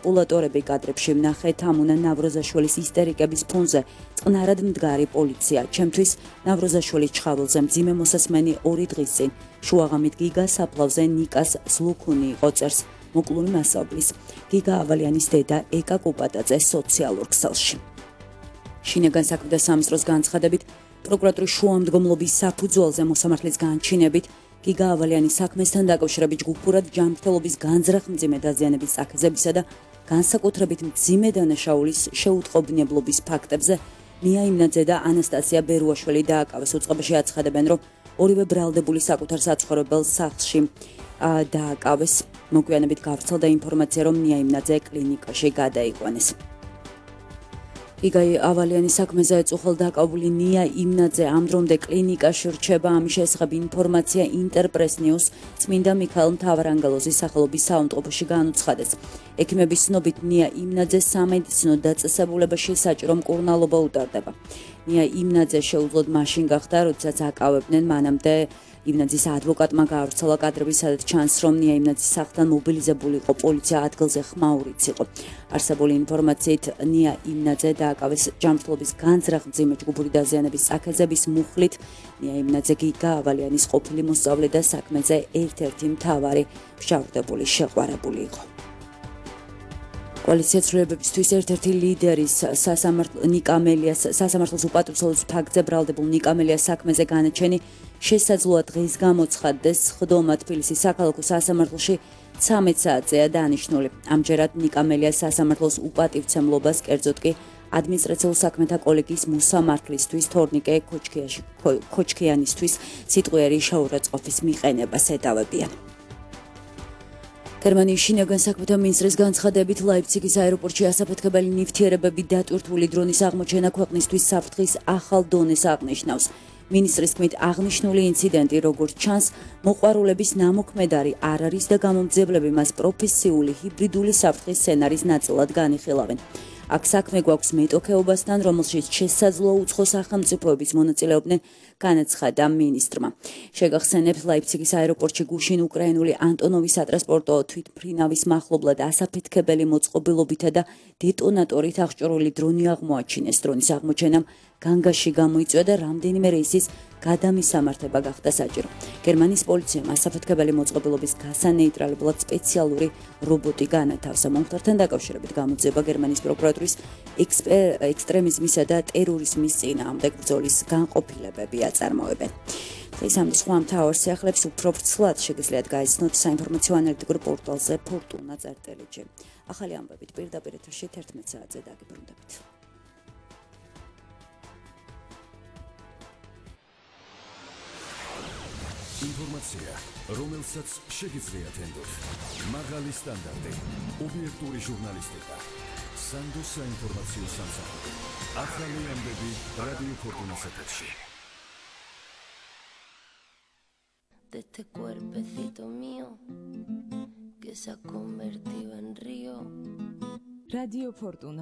მანიპულატორები კადრებში ვნახეთ ამუნა ნავროზაშვილის ისტერიკების ფონზე წყნარად მდგარი პოლიცია. ჩემთვის ნავროზაშვილის ჩხავილზე მძიმე მოსასმენი 2 დღის წინ შუაღამით გიგა საფლავზე ნიკას ზლუქუნი იყო წერს მოკლული მასწავლის. გიგა ავალიანის დედა ეკა კუპატაძე სოციალურ ქსელში. შინაგან საქმეთა სამინისტროს განცხადებით პროკურატურის შუამდგომლობის საფუძველზე მოსამართლის განჩინებით გიგა ავალიანის საქმესთან დაკავშირებით ჯგუფურად ჯანმრთელობის განზრახ-მძიმე დაზიანების წაქეზებისა და განსაკუთრებით მძიმე დანაშაულის შეუტყობინებლობის ფაქტებზე ნია იმნაძე და ანასტასია ბერუაშვილი დააკავეს. უწყებაში აცხადებენ, რომ ორივე ბრალდებული საკუთარ საცხოვრებელ სახლში დააკავეს. მოგვიანებით გავრცელდა ინფორმაცია, რომ ნია იმნაძე კლინიკაში გადაიყვანეს. გიგა ავალიანის საქმეზე ეწუხელ დაკავებული ნია იმნაძე ამ დრომდე კლინიკაში რჩება. ამის შესახებ ინფორმაცია ინტერპრეს ნიუს წმინდა მიქაელ მთავარანგელოზის სახელობის საავადმყოფოში განუცხადეს. ექიმების ცნობით ნია იმნაძეს სამედიცინო დაწესებულებაში საჭირო მკურნალობა უტარდება. ნია იმნაძე შეუძლოდ მაშინ გახდა, როდესაც აკავებდნენ მანამდე იმნაძის ადვოკატმა გაავრცელა კადრები, სადაც ჩანს, რომ ნია იმნაძის სახლთან მობილიზებული იყო პოლიცია, ადგილზე ხმაურიც იყო. არსებული ინფორმაციით ნია იმნაძე დააკავეს ჯანმრთელობის განზრახ-მძიმე ჯგუფური დაზიანების წაქეზების მუხლით. ნია იმნაძე გიგა ავალიანის ყოფილი მოსწავლე და საქმეზე ერთ-ერთი მთავარი მშავრდებული შეყვარებული იყო. კოალიცია ცვლილებებისთვის ერთ-ერთი ლიდერის ნიკა მელიას სასამართლოს უპატრიცელობის ფაქტზე ბრალდებულ ნიკა მელიას საქმეზე განაჩენი შესაძლოა დღეს გამოცხადდეს. ხდომა თბილისის საქალაქო სასამართლოში 13 საათზეა დანიშნული. ამჯერად ნიკა მელიას სასამართლოს უპატივცემლობას, კერძოდ კი ადმინისტრაციულ საქმეთა კოლეგიის მოსამართლისთვის თორნიკე ქოჩქიანისთვის სიტყვიერი შეურაცხყოფის მიყენებას ედავებიან. გერმანიის შინაგან საქმეთა მინისტრის განცხადებით ლაიფციგის აეროპორტში ასაფეთქებელი ნივთიერებები დატვირთული დრონის აღმოჩენა ქვეყნისთვის საფრთხის ახალ დონეს აღნიშნავს. მინისტრის თქმით, აღნიშნული ინციდენტი, როგორც ჩანს, მოყვარულების ნამოქმედარი არ არის და გამომძებლები მას პროფესიული ჰიბრიდული საფრთხის სცენარის ნაწილად განიხილავენ. აქ საქმე გვაქვს მეტოქეობასთან, რომელშიც შესაძლოა უცხო სახელმწიფოების მონაწილეობდნენ, განაცხადა მინისტრმა. შეგახსენებთ, ლაიფციგის აეროპორტში გუშინ უკრაინული ანტონოვის სატრანსპორტო თვითმფრინავის მახლობლად ასაფეთქებელი მოწყობილობითა და დეტონატორით აღჭურვილი დრონი აღმოაჩინეს. დრონის აღმოჩენამ განგაში გამოიწვია და რამდენიმე რეისის გადამისამართება გახდა საჭირო. გერმანიის პოლიციამ ასაფეთქებელი მოწყობილობის გასანეიტრალებლად სპეციალური რობოტი განათავსა. მომხდართან დაკავშირებით გამოძიება გერმანიის პროკურატურის ექსტრემიზმისა და ტერორიზმის წინააღმდეგ ბრძოლის განყოფილებები აწარმოებენ. დღეს ამ სხვა მთავარ სიახლეებს უფრო ვრცლად შეგიძლიათ გაიცნოთ საინფორმაციო ანალიტიკურ პორტალზე fortuna.lg. ახალი ამბებით პირდაპირ ეთერში 11 საათზე დაგიბრუნდებით. ინფორმაცია, რომელსაც შეგიძლიათ ენდოთ. მაღალი სტანდარტი, ობიექტური ჟურნალისტიკა, სანდოს საინფორმაციო სამსახური. ახალი ამბები რადიო ფორტუნას ეთერში. De este cuerpecito mío que se ha convertido en río. Radio Fortuna